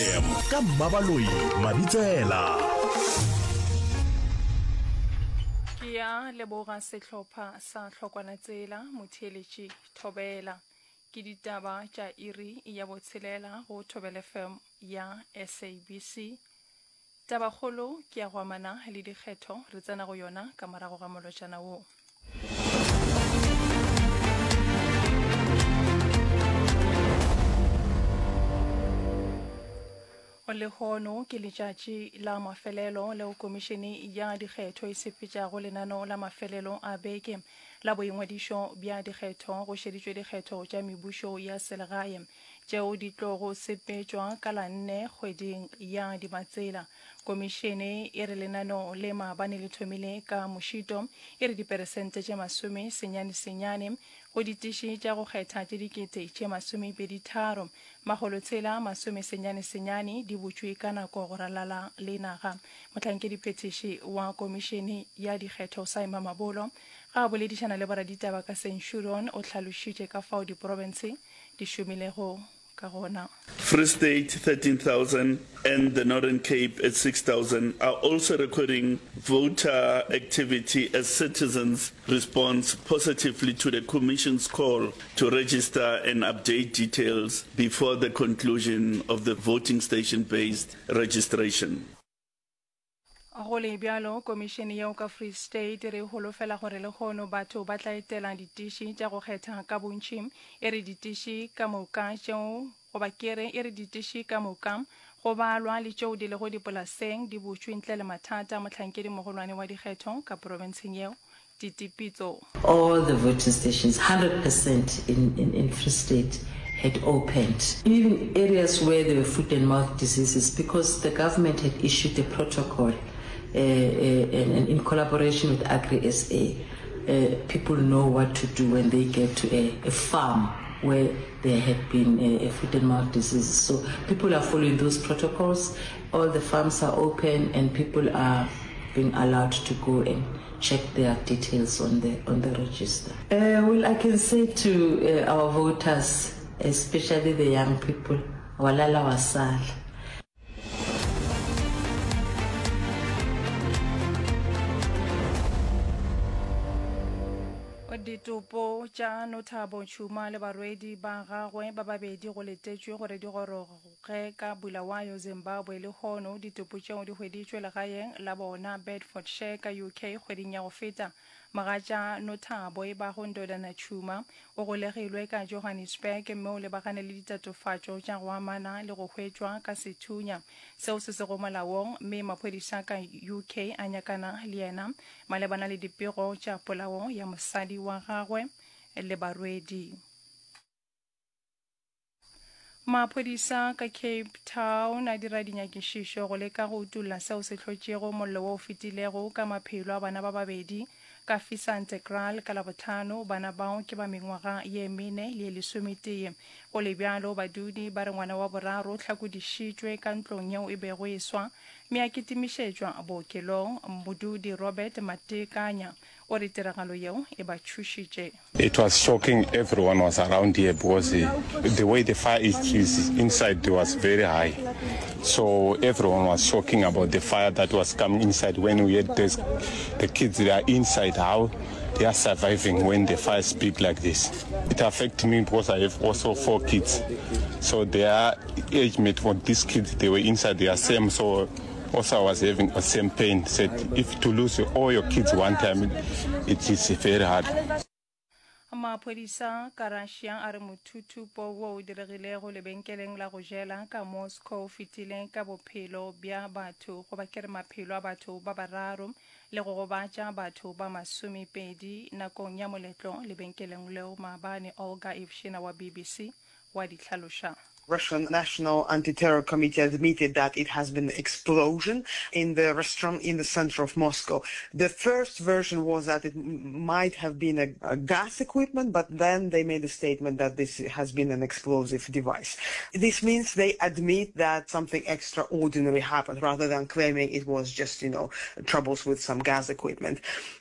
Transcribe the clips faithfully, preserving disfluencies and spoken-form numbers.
Ka Mmabaloi Mabitsela. Ke ya leboga sehlopha sa Hlokwana-Tsela, Motheeletši Thobela. Ke ditaba tša iri ya botshelela go Thobela F M ya S A B C. Tabakgolo ke ya go amana le dikgetho, re tsena go yona ka morago ga molotšana wo. Lehono ke letšatši la mafelelo leo komišene ya dikgetho e sepetšago lenaneo la mafelelo a beke la boingwadišo bja dikgetho go šeditšwe dikgetho tša mebušo ya selegae tšeo di tlogo sepetšwa ka la nne kgweding ya Dimatsela. Komišene e re lenaneo le maabane le thomile ka mošito, e re diperesente tše masome senyane senyane go ditiši tša go kgetha tše dikete tše masomepedi tharo makgolo tshela masome senyane senyane di butšwe ka nako go ralala le naga. Mohlankediphethiši wa komišene ya dikgetho Saima Mabolo ga a boledišana le boraditaba ka Centurion o hlalošitše ka fao diprofense di šomilego ka gona. Free State thirteen thousand and the Northern Cape at six thousand are also recording voter activity as citizens respond positively to the Commission's call to register and update details before the conclusion of the voting station-based registration. Go le bjalo, komišene yeo ka Free State re holofela gore lehono batho ba tla etela ditiši tša go kgetha ka bontši. E re ditiši ka moka tšeo goba ke re e re ditiši ka moka go balwa le tšeo di lego dipolaseng di butšwe ntle le mathata. Mohlankedi mogolwane wa dikgetho ka profenseng yeo Titi Pitso. All the voting stations, hundred percent in, in, in Free State had opened, even areas where there were foot and mouth diseases, because the government had issued a protocol, uh, uh, and, and in collaboration with Agri S A, uh, people know what to do when they get to a, a farm where there had been a, a foot and mouth disease. So people are following those protocols. All the farms are open and people are being allowed to go and check their details on the, on the register. Uh, well, I can say to, uh, our voters, especially the young people, walala wasala. Ditopo tša Nothabo Tšhuma le barwedi ba gagwe ba babedi go letetšwe gore di goroge ka Bulawayo, Zimbabwe lehono. Ditopo tšeo di hweditšwe legaeng la bona Bedfordshire ka U K kgweding ya go feta. Mogatša Nothabo e bago Ndodana Tšhuma o golegilwe ka Johannesburg mme o lebagane le ditatofatšo tša go amana le go hwetšwa ka sethunya seo se sego molaong, mme maphodisa ka U K a nyakana le yena malebana le dipego tša polao ya mosadi wa gagwe le barwedi. Maphodisa ka Cape Town a dira dinyakišišo go leka go utolla seo se hlotšego mollo wo o fetilego ka maphelo a bana ba babedi ka Fisantekraal ka Labohlano. Bana bao ke ba mengwaga ye mene le ye lesometee. Go le bjalo, badudi ba re ngwana wa boraro o hlakodišitšwe ka ntlong yeo e bego e swa mme a kitimišetšwa bookelong. Modudi Robert Matekanya o re tiragalo yeo e ba tšhošitše. It was shocking, everyone was around here because the way the fire is, is inside was very high. So everyone was shocking about the fire that was coming inside. When we had this, the kids that are inside, how they are surviving when the fire is big like this. It affected me because I have also four kids. So their age mate for these kids, they were inside, they are same. So also I was having the same pain. Said if to lose all your kids one time, it is very hard. Maphodisa ka Russia a re mothuthupo wo o diregilego lebenkeleng la go jela ka Moscow o fetile ka bophelo bja batho goba ke re maphelo a batho ba bararo le go gobatša batho ba masomepedi nakong ya moletlo lebenkeleng leo maabane. Olga Ivshina wa B B C wa di hlaloša. Russian National Anti-Terror Committee admitted that it has been an explosion in the restaurant in the center of Moscow. The first version was that it m-, might have been a, a gas equipment, but then they made a statement that this has been an explosive device. This means they admit that something extraordinary happened rather than claiming it was just, you know, troubles with some gas equipment.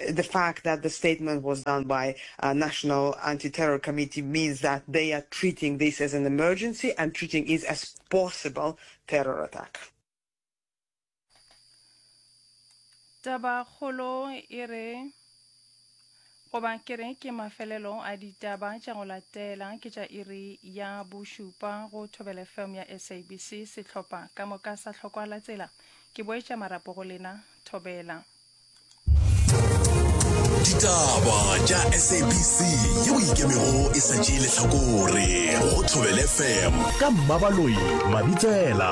The fact that the statement was done by a National Anti-Terror Committee means that they are treating this as an emergency and treating it as possible terror attack. Tabakgolo e re goba ke re ke mafelelo a ditaba tša go latela ke tša iri ya bošupa go Thobela F M ya S A B C. Sehlopha ka moka sa hlokwa la tsela ke boetša marapo go lena. Thobela. Ditaba tša S A B C yeo ikemego e sa tšee lehlakore go Thobela F M ka Mmabaloi Mabitsela.